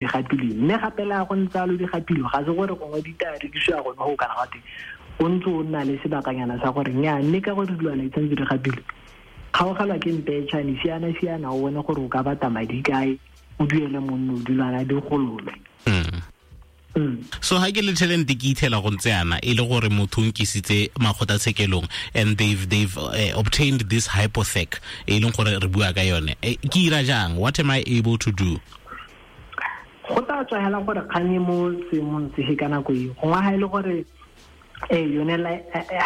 Di gapilwe, mme gape le a go ntse a lo di gapilwe, ga se gore gongwe di tla rekisiwa gone go kana gate o ntse o nna le sebakanyana sa gore nya, mme ka gore dilwana di tshwanetse di gapilwe, kgaogelwa ke mpetšhane, siana siana o bone gore o ka bata madi kae, o duele monno dilwana di gololwe. So ha ke le talent ke ithela go ntse yana e le gore motho o nkisitse makgotatshekelong and they've obtained this hypothec e leng gore re bua ka yone, ke ira jang? What am I able to do? Go tla tswa hela gore kgang e mo seemong sefe ka nako eo. Gongwe ga e le gore yone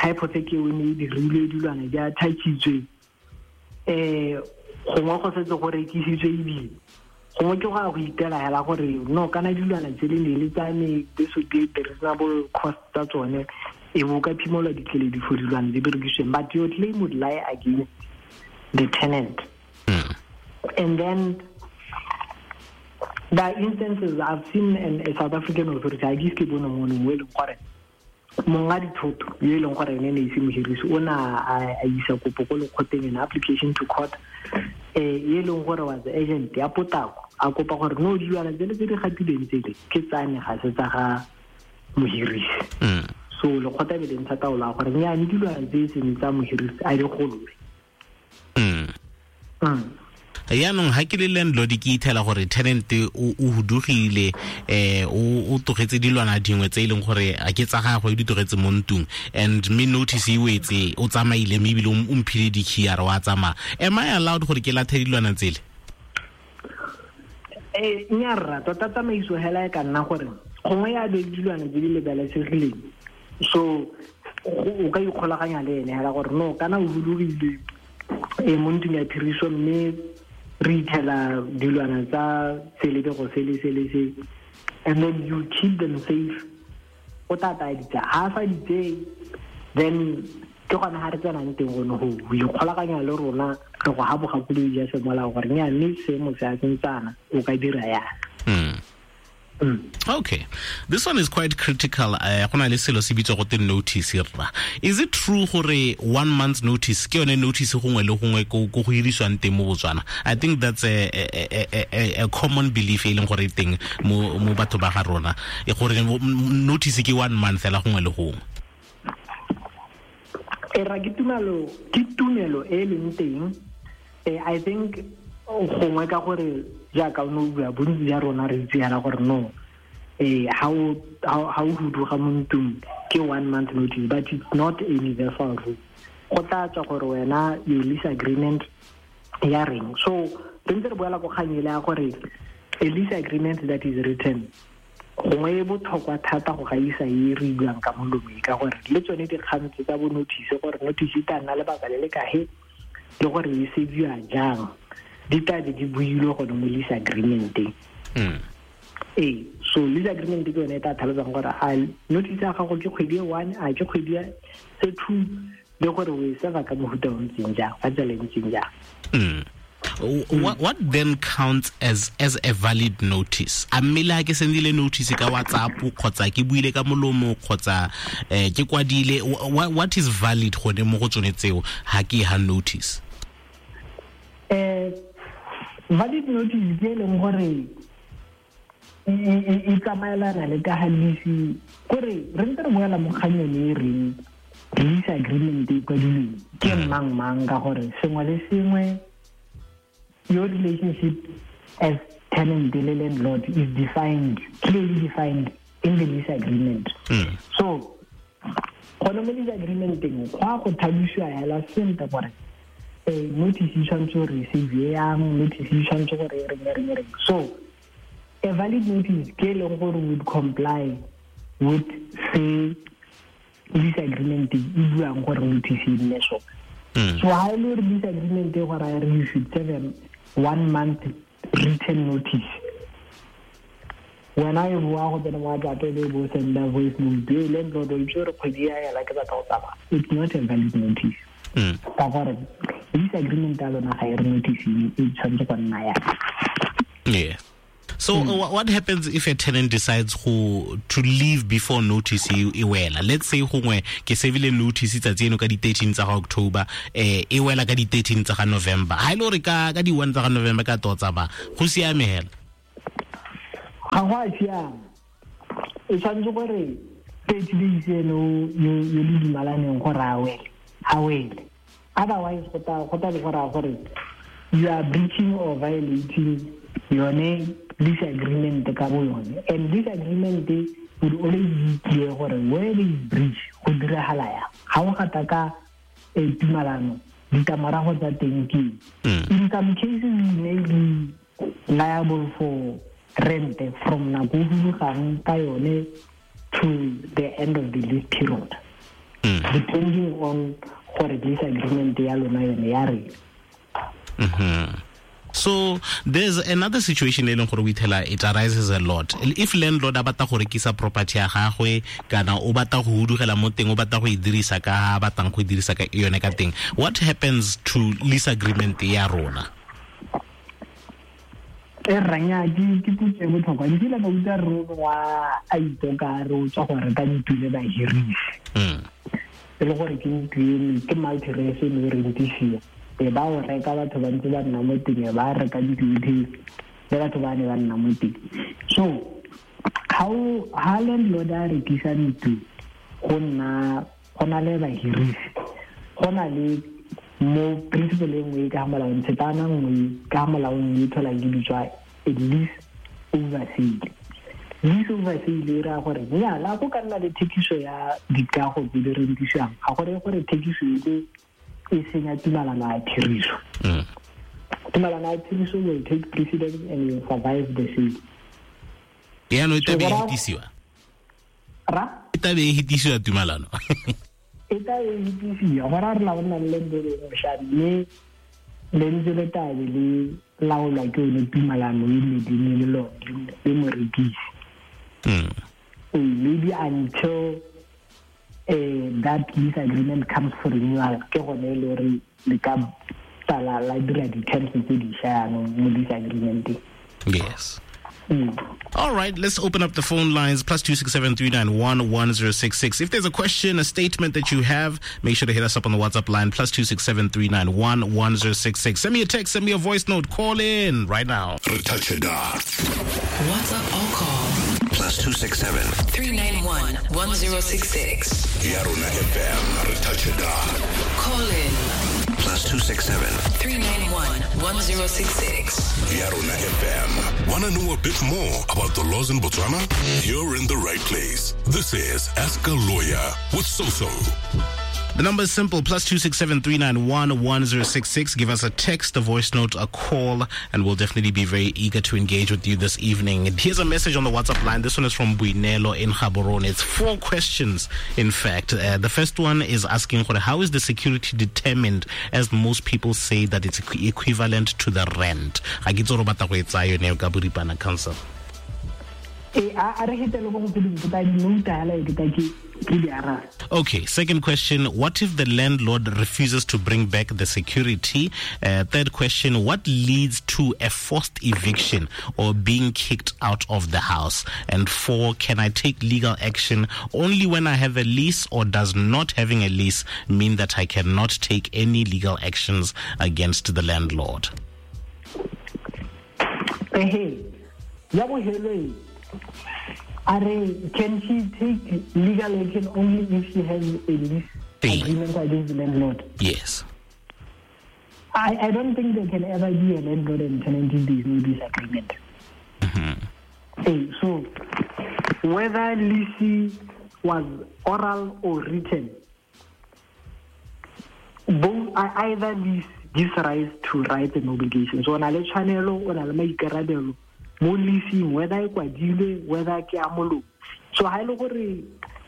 hypothec eo ne e dirilwe, dilwana di attachitswe, gongwe go setse go rekisitswe, ebile gongwe ke go a go itela hela gore no, kana dilwana tse le ne le tsa me, this would be the reasonable cost tsa tsone, e bo ka phimolwa dikeledi for dilwana tse berekisitsweng, but your claim would lie against the tenant. And then the instances I've seen in a South African authority, I ke bone mo mo e leng gore monga dithoto yo e leng gore ene ne ise mohirisi o na a isa kopo ko lekgoteng, an application to court, e leng gore was agent ya potako, a kopa gore no, dilwana tsele tse di gatileng tsele ke tsane, ga se tsa ga mohirisi. So lekgotla be le ntsha taolo ya gore nnyane, dilwana tse e seng tsa mohirisi a di gololwe. Yaanong ha ke le landlord ke ithela gore tenant o hudugile, o tlogetse dilwana dingwe tse e leng gore a ke tsa gagwe, di tlogetse mo ntlong, and me notice e wetse, o tsamaile, mme ebile o mphile di-key a re wa tsamaya, am I allowed gore ke lathe dilwana tsele? Nya rra, tota tsamaiso hela e ka nna gore gongwe ya be dilwana tse di lebalesegileng, so o ka ikgolaganya le ene hela gore no, kana o hudugile mo ntlong ya phiriso, mme re ithela dilwana tsa selebego sele sele se, and then you keep them safe. O tla taya ditsa, ha a sa di tseye, then ke gone ga re tsenang teng gone go ikgolaganya le rona, re go ga bogakolodi jwa semolao gore nya, mme seemo se a sentsana, o ka dira yana. Okay, this one is quite critical. Go na le selo se bitswa go te notice, rra. Is it true gore 1 month notice ke yone notice gongwe le gongwe ko go hirisiwang teng mo Botswana? I think that's a common belief e leng gore e teng mo batho ba ga rona, e gore notice ke 1 month fela gongwe le gongwe. E ra ke tumelo e leng teng. I think gongwe ka gore jaaka o ne o bua, bontsi ja rona re itse yana gore no, ha o huduga mo ntlong ke 1 month notice, but it's not a universal rule. Go tla tswa gore wena your lease agreement ya reng. So re ntse re boela ko kgang ele ya gore a lease agreement that is written gongwe e botlhokwa thata go gaisa e re buang ka molomo e, ka gore le tsone dikgang tse tsa bo notice, gore notice e tla nna lebaka le le kae le gore e sebiwa jang, di tla be di builwe gone mo lease agreementeng. Ee, so lease agreement ke yone e tla tlhalosang gore a notice ya gago ke kgwedi e one, a ke kgwedi ya se two, le gore o e serva ka mofuta o ntseng jang, ka tsela e ntseng jang. What then counts as a valid notice? A mme le ha ke sendile notice ka WhatsApp kgotsa ke buile ka molomo kgotsa ke kwadile, what is valid gone mo go tsone tseo ha ke ha notice? Valid notice ke e leng gore e tsamaelana le ka ga lease, kore re ntse re boela mo kgang yone e reng lease agreement e kwadilweng ke mang mang, ka gore sengwe le sengwe, your relationship as tenant le landlord is defined, clearly defined in the lease agreement. So gone mo lease agreementeng go a go tlhalosiwa hela sentle gore notice e tshwanetse gore e save yang, notice e tshwanetse gore e reng, e reng, e reng. So a valid notice ke e leng gore would comply with se lease agreement e buang gore notice e nne sone. So ha e le gore lease agreement e gore a re you should serve them 1 month written notice, wena e boa go tsena mo WhatsApp e be bo senda voice note e, landlord o itse gore kgwedi ya ela ke batla go tsamaya, it's not a valid notice, ka gore lease agreement ya lona ga e re notice e tshwanetse go nna yana. Yeah. So what happens if a tenant decides go to leave before notice e wela? Let's say gongwe ke sevile notice tsatsi eno ka di 13 tsa ga October, e wela ka di 13 tsa ga November. Ha ile gore ka di 1 tsa ga November ka totsa ba go siame hela? Ga go a siama. E tshwanetse gore 30 days eno yo le dumalaneng gore a wele. Otherwise go tla be go raya gore you are breaching or violating yone lease agreement ka bo yone. And this agreement would always be clear gore where there is breach go diragala yang. Ga o gata ka tumalano, ditlamorago tsa teng ke eng. In some cases you may be liable for rent from nako o hudugang ka yone to the end of the lease period. Depending on gore lease agreement ya lona yone ya reng. So there's another situation e leng gore o ithela it arises a lot. If landlord a batla go rekisa property ya gagwe kana o batla go hudugela mo teng, o batla go e dirisa ka batlang go e dirisa ka yone ka teng, what happens to lease agreement ya rona? E ranya ke potso e botlhokwa. Ke kile ka utlwa rre wa a itoka re o tswa go reka ntlo le bahirisi. E le gore ke ntlo eno ke multi-res e ne e rentisiwa. E ba o reka batho ba ntse ba nna mo teng, ba reka ntlo le batho ba ne ba nna mo teng. So ha landlord a rekisa ntlo go na le bahirisi, go na le mo principle e nngwe ka molaong, tshetana nngwe ka molaong e tholang ke bitswa a lease over sale. Lease over sale e raya gore nnyaa, go ka nna le thekiso ya dikago tse di rentisiwang, ga gore gore thekiso e e senya tumalano ya tiriso. Tumalano ya tiriso will take precedence and will survive the sale. Yaanong e tla be e hetisiwa? Ra? E tla be e hetisiwa tumalano. E tla e hetisiwa, gore a re la bona le lendele mošwa, mme lentse le tla be le laolwa ke yone tumalano e medimo le lone le morekisi. Maybe until that lease agreement comes for renewal, ke gone e le gore le ka tla la dira di-terms tse dišwa jaanong mo lease agreement. Yes. All right, let's open up the phone lines, +267 391 1066. If there's a question, a statement that you have, make sure to hit us up on the WhatsApp line, +267 391 1066. Send me a text, send me a voice note, call in right now. WhatsApp or call +267 391 1066. Yarona FM, Call in +267 391 1066. Yarona FM. Want to know a bit more about the laws in Botswana? You're in the right place. This is Ask a Lawyer with Soso. The number is simple, +267 391 1066. Give us a text, a voice note, a call, and we'll definitely be very eager to engage with you this evening. And here's a message on the WhatsApp line. This one is from Buinelo in Gaborone. It's 4 questions, in fact. The first one is asking, how is the security determined, as most people say that it's equivalent to the rent? Council. Okay, second question, what if the landlord refuses to bring back the security? Third question, what leads to a forced eviction or being kicked out of the house? And 4, can I take legal action only when I have a lease, or does not having a lease mean that I cannot take any legal actions against the landlord? Hey, can she take legal action only if she has a lease agreement against the landlord? Yes. I don't think there can ever be a landlord and tenant if there is no disagreement. Hey, so whether lease was oral or written, both either lease gives rise to rights and obligations. So on a channel, on a maikarabelo, mo leasing, whether e kwadilwe, whether ke a molomo. So ha ile gore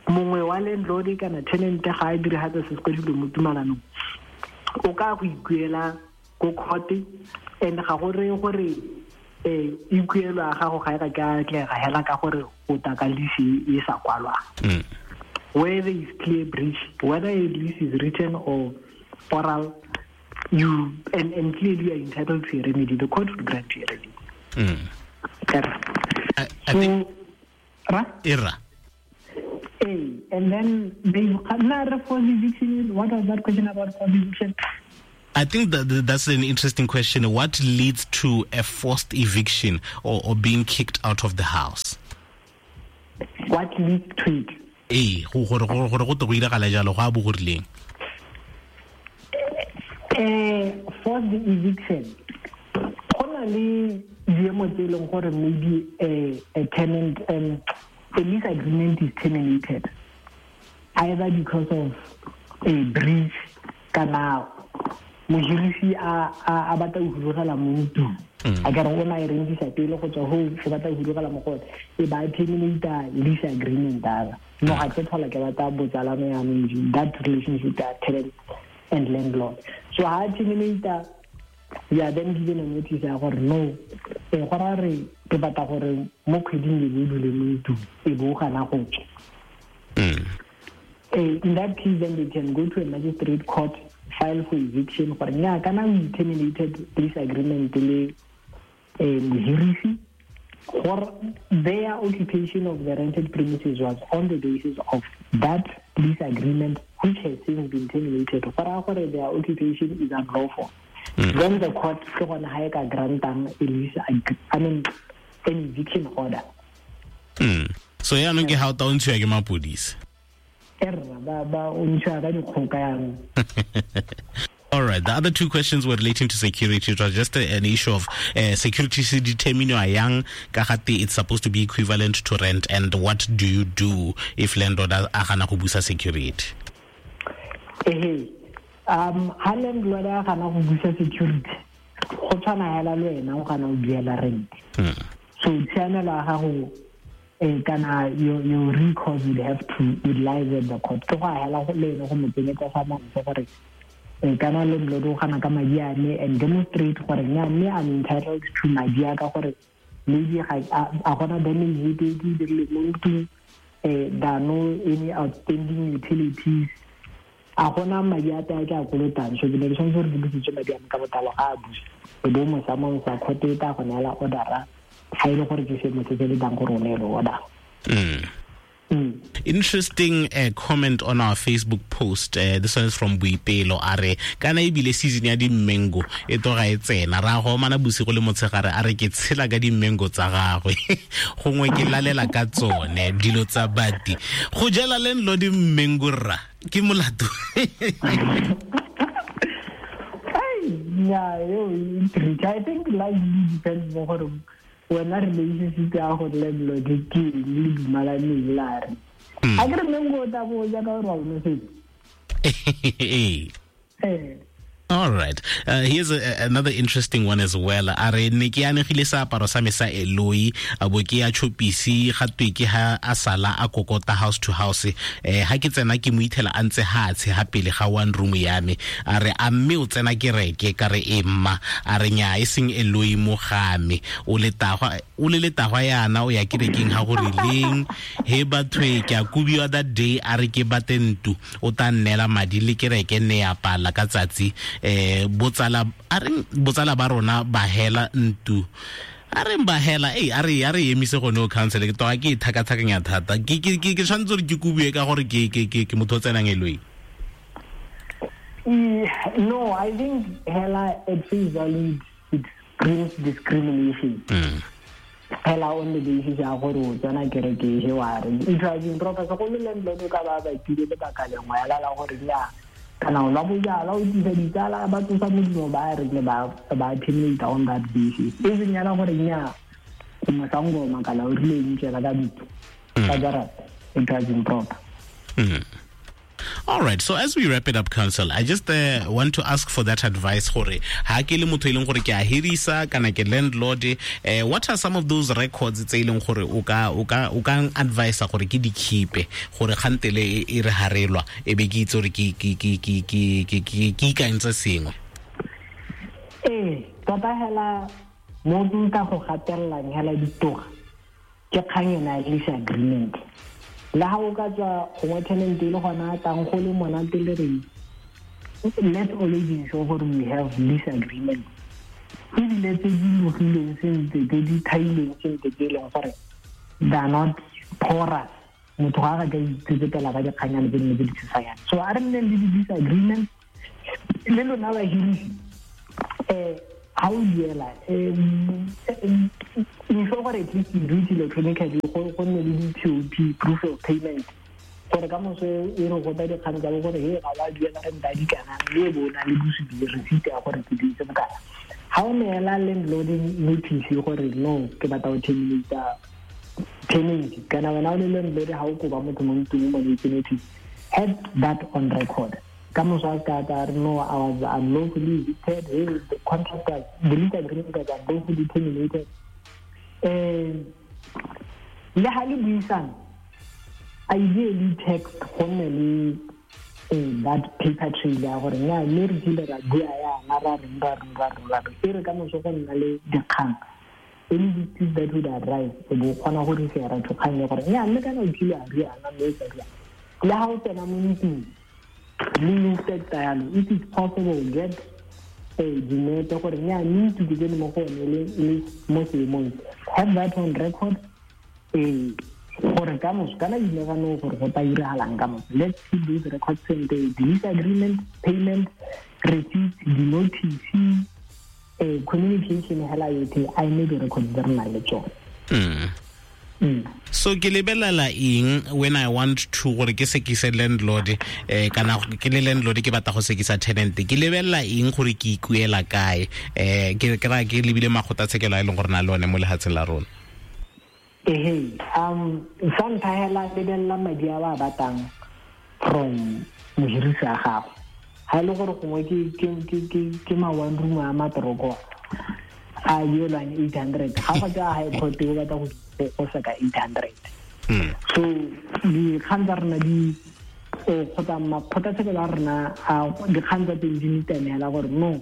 mongwe wa landlord kana tenant ga a diragatsa se se kwadilweng mo tumalanong, o ka go ikuela ko court, and ga go reye gore ikuelo ya gago ga e ka ke a atlega hela ka gore o taka lease e sa kwalwang. Where there is clear breach, whether a lease is written or oral, you and clearly you are entitled to a remedy. The court will grant you a remedy. I think Ira. Hey, and then they forced eviction. What was that question about forced eviction? I think that's an interesting question. What leads to a forced eviction or being kicked out of the house? What leads to it? Ee, gore go te go iragala jalo, go a bo go rileng? Forced eviction, go na le diemo tse e leng gore maybe a tenant, a lease agreement is terminated either because of a breach kana mohirisi a batla go hudugela mo ntlong. A ka re o na e rentisa pele go tswa ho o batla go hudugela mo go e ba terminate lease agreement ara. No ga ke tlhola ke batla botsalano ya me, that relationship ya tenant and landlord. So ha terminate, we are then given a notice ya gore no, e go ra re ke batla gore mo kgweding e bo dule mo ntlong, e bo gana go tswa. In that case, then they can go to a magistrate court, file for eviction gore nya kana we terminated this agreement le mohirisi, gore their occupation of the rented premises was on the basis of that lease agreement, which has since been terminated. Gore gore their occupation is unlawful. Then the court ke gone ha e ka grantang a lease, I mean an eviction order. So yaanong ke ha o ta o ntshiwa ke mapodisi. Ba o ntshiwa ka dikgoka yaanong. All right. The other two questions were relating to security. It was just an issue of security se determine yang ka gate it's supposed to be equivalent to rent, and what do you do if landlord a gana go busa security? Ha landlord a gana go busa security, go tshwana hela le wena o gana go duela rent. So tshiamelo ya gago kana your recourse would have to would lie with the court. Ke go hela le ene go mo tsenyetsa sa monso gore kana landlord o gana ka madi a me and demonstrate gore nya mme I'm entitled to madi a ka gore maybe ga a gona damage e ke dirile mo ntlong, there are no any outstanding utilities, a gona madi a tsa ke a kolotang, so ke ne ke tshwanetse gore ke busetse madi a me ka botlalo ga a busa, e bo mo sa court e tla go neela order ga e le gore ke seemo se se letang gore o neele order. Interesting comment on our Facebook post. This one is from Boipelo. A re kana ebile season ya di-mango e toga e tsena, ra go omana bosigo le motshegare, a re ke tshela ka di-mango tsa gagwe, gongwe ke lalela ka tsone dilo tsa bati go jela landlord mango rra ke molato. Yeah, I think life depends mo gore wena relationship ya go landlord ke le dumalaneng la re. A ke re mango o tla bo ja ka gore wa o nosetsa. All right. Here's another interesting one as well. A re ne ke anegile seaparo sa me sa Eloi, a bo ke ya chopisi ga twe ke ha a sala a kokota house to house. Ha ke tsena ke mo ithela a ntse hatshe ha pele ga one room ya me. A re a mme o tsena kereke ka re e mma, a re nya e seng Eloi mo ga me. O le tagwa o le letagwa yana o ya kerekeng ha go rileng. He batho ke a kubiwa that day, a re ke bate ntu o ta nnela madi le kereke ne ya pala ka tsatsi. Botsala a reng botsala ba rona ba hela ntu a reng ba hela a re emise gone o council ke toga ke thakathakanya thata ke tshwanetse gore ke kubue ka gore ke motho o tsenang Eloi. No, I think hela at face value it brings discrimination. Hela on the basis ya gore o tsena kereke he wa re it was improper go le landlord ka ba ba kile lebaka lengwe ya la gore ya kana o la bojala o tlisa ditsala ba tsosa modimo ba re le ba terminate on that basis. E seng yana gore nya mosangoma kana o rile ntse ka ditso ka jarata, it was improper. All right. So as we wrap it up, Council, I just want to ask for that advice. Gore ha ke le motho e leng gore ke a hirisa kana ke landlord, what are some of those records tse e leng gore o ka advise gore ke di keep gore kgantele e re harelwa e be ke itse gore ke ikantse sengwe? Tota hela mo nka go gatellang hela ditoga ke kgang yona ya lease agreement. Le ha o ka tswa gongwe tenant e le gona tang go le monate le reng, let's always ensure gore we have lease agreement. Ebile tse di logileng sentle, tse di thailweng sentle, tse e leng gore they are not porous. Motho ga a ka itsetsepela ka dikganyane tse dingwe tse di tshosanyana. So a re nneng le di-lease agreement, Le lona bahirisi, ha o duela, ensure gore at least you do it electronically, go nne le di-POP, proof of payment, gore ka moso e re gota dikgang tsa bo gore he ga wa duela renta di kana, mme e bo o na le bosupi le receipt ya gore ke duetse bokana. Ha o neela landlord notice gore no, ke batla go terminate tenancy, kana wena o le landlord ha o koba motho mo ntlong o mo neetse notice, have that on record. Ka moso a ka tla re no, I was unlawfully evicted, hey, the contract was, the lease agreement was unlawfully terminated. Le ha le buisana, ideally text go nne le that paper trail ya gore nya mme re kile ra bua yana ra reng ra reng ra reng ra reng, e re ka moso go nna le dikgang, any dispute that would arise, e bo kgona go refera to kgang ya gore nya mme kana o kile a riana mme o sa riana. Le ha o tsena mo ntlong le inspector yalo, if it's possible, get dinepe gore nya mme ntlo ke tsene mo go yone le mo seemong, have that on record, gore ka moso kana you never know gore go tla iragalang ka moso. Let's keep those records and the lease agreement, payment, receipt, the notice, communication hela yotlhe, a eme di-records tse re nang le tsone. So ke lebelela eng when I want to gore ke sekise landlord, kana ke le landlord ke batla go sekisa tenant, ke lebelela eng gore ke ikuela kae, ke ra ke lebile makgotlatshekelo a e leng gore na le one mo lehatsheng la rona? Ehe, sa ntlha hela lebelela madi a ba a batlang from mohirisi a gago. Ha e le gore gongwe ke ma one room a matoroko a duelwang 800, ga go tswa high court o batla go seka 800. So dikgang tsa rona di kgotsa makgotlatshekelo a rona a dikgang tsa teng di nitame hela gore no,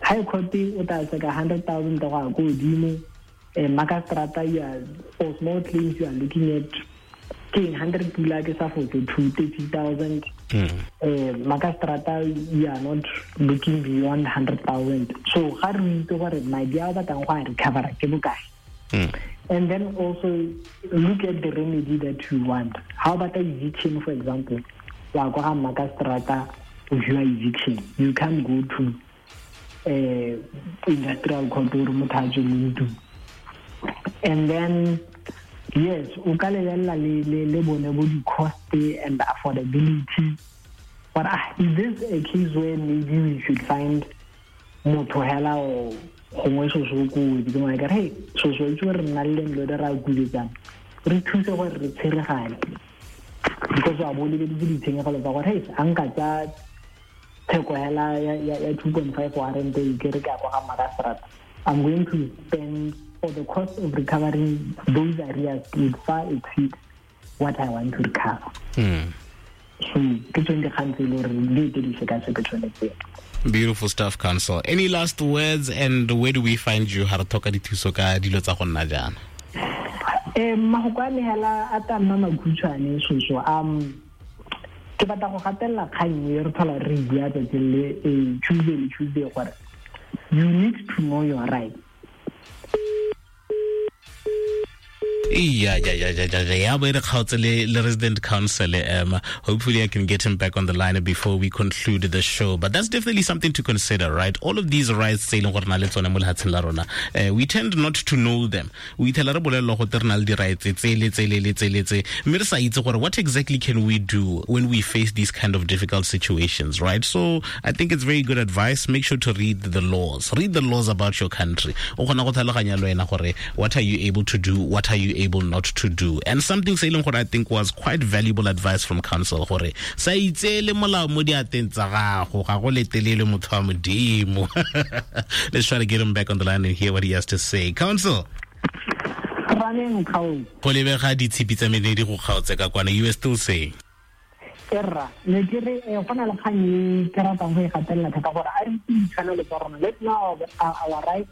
high court o tla seka 100,000 go ya ko godimo, Makastrata you are, for small claims you are looking at ke 100 pula ke sa fotse 230,000. Makastrata you are not looking beyond 100,000. So ga re itse gore madi a o batlang go a recover ke bokae. And then also look at the remedy that you want. How about eviction, for example? Wa kwa ga Makastrata o fiwa eviction. You can't go to industrial court or motho a tswe mo ntlong. And then yes, o ka lebelela le bone bo di-cost and the affordability. But is this a case where maybe we should find motho hela o gongwe soso ko wetse ke ngwana ka re, hey, soso itse gore re nna le landlord re a kuletsang, re thuse gore re tsheregane, because wa bo lebeletse ditshenyegelo tsa gore hey, a nka tsa theko hela ya 2.5 warrant e ke re ke ya kwa ga Makastrata, I'm going to spend for the cost of recovering those areas would far exceed what I want to recover. So ke tsone dikgang tse e le gore di ete di sekaseke tsone tseo. Beautiful stuff, Counsel. Any last words, and where do we find you? Ha re tlhoka dithuso ka dilo tsa go nna jaana. Mafoko a me hela a tla nna makhutshwane soso. Ke batla go gatelela kgang e re tlhola re bua tsatsi le Tuesday le Tuesday gore you need to know your rights. Yeah, but the resident council. Hopefully I can get him back on the line before we conclude the show. But that's definitely something to consider, right? All of these rights, we tend not to know them. We tell rights. What exactly can we do when we face these kind of difficult situations, right? So I think it's very good advice. Make sure to read the laws. Read the laws about your country. What are you able to do? What are you able not to do? And something se leng gore I think was quite valuable advice from counsel gore sa itseele molao mo diateng tsa gago, ga go letelele motho wa modimo. Let's try to get him back on the line and hear what he has to say. Counsel, go lebega ditshipi tsa mene di go kgaotse ka kwana. You were still saying? Erra, ne ke re go na le kgang e ke ratang go e gatelela thata gore a re itse ditshwanelo tsa rona. Let's know our rights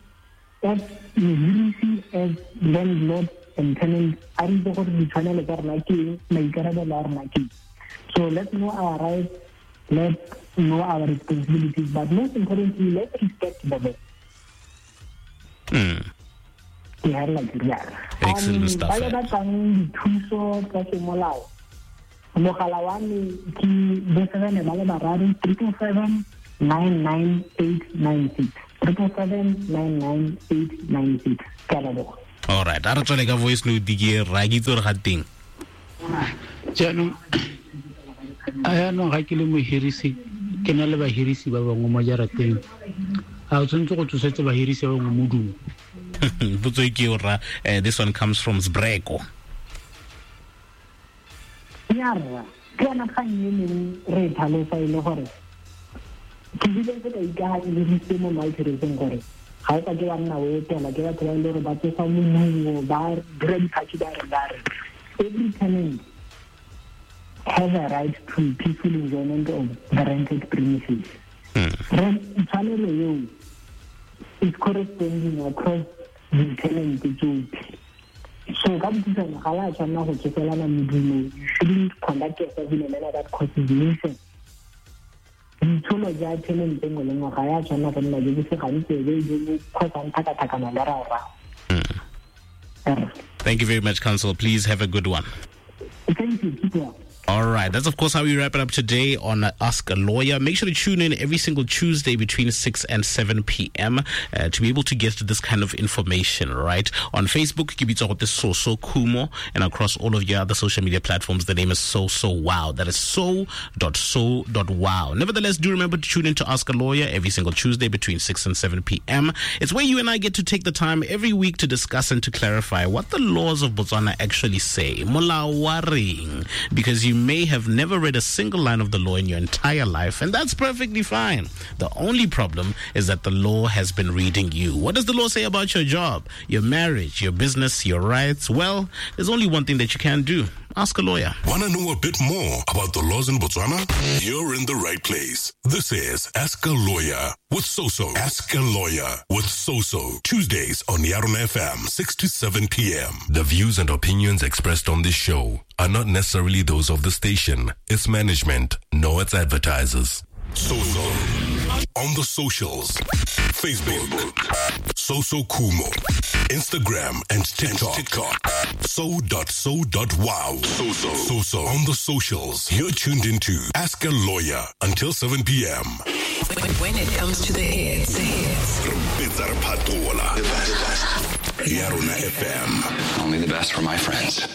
as mohirisi, as landlord and tenant. A re itse gore ditshwanelo tsa rona ke eng, maikarabelo a rona ke eng. So let's know our rights, let's know our responsibilities, but most importantly, let's respect the law. Ke herela ke rialo. Excellent stuff. Ba ba batlang dithuso tsa semolao, mogala wa me ke bo 7 ba le bararo 777 99896. 777 99896. Ke a leboga. All right, a re tswele ka voice note ke ra ke itse gore ga teng. Jaanong ga ke le mohirisi, ke na le bahirisi ba bangwe mo jarateng, a o tshwanetse go tsosetse bahirisi ba bangwe modumo? Potso e ke eo rra. This one comes from Sbreko. Ya rra, ke yona kgang e neng re e tlhalosa e le gore ke bile se ka ikaganyeditse mo maitshereseng gore ga o ka ke wa nna o etela ke batho ba e le gore ba tsosa modumo, ba dira diphathi, ba re every tenant has a right to peaceful enjoyment of the rented premises. Tshwanelo eo is corresponding across the tenant tsotlhe. So ka bokhutshwane ga la tshwanela go tsoselana modumo. You shouldn't conduct yourself in a manner that causes nuisance. Boitsholo ja tenant nngwe le nngwe ga ya tshwanela go nna jo bo se gantsi jo bo kgosang tlhakatlhakano le rao-rao. Thank you very much, Counsel. Please have a good one. Thank you. Keep well. All right. That's, of course, how we wrap it up today on Ask a Lawyer. Make sure to tune in every single Tuesday between 6 and 7 p.m. To be able to get this kind of information, right? On Facebook, ke Soso Kumo, and across all of your other social media platforms, the name is So Wow. That is so.so.wow. Nevertheless, do remember to tune in to Ask a Lawyer every single Tuesday between 6 and 7 p.m. It's where you and I get to take the time every week to discuss and to clarify what the laws of Botswana actually say. Molao wa reng? Because you may have never read a single line of the law in your entire life, and that's perfectly fine. The only problem is that the law has been reading you. What does the law say about your job, your marriage, your business, your rights? Well, there's only one thing that you can do. Ask a lawyer. Want to know a bit more about the laws in Botswana? You're in the right place. This is Ask a Lawyer with Soso. Ask a Lawyer with Soso. Tuesdays on Yarona FM, 6 to 7 p.m. The views and opinions expressed on this show are not necessarily those of the station, its management, nor its advertisers. Soso. On the socials. Facebook, Soso Kumo. Instagram and TikTok. So.so.wow. Soso. On the socials. You're tuned into Ask a Lawyer until 7 p.m. When it comes to the hits. Yarona FM. Only the best for my friends.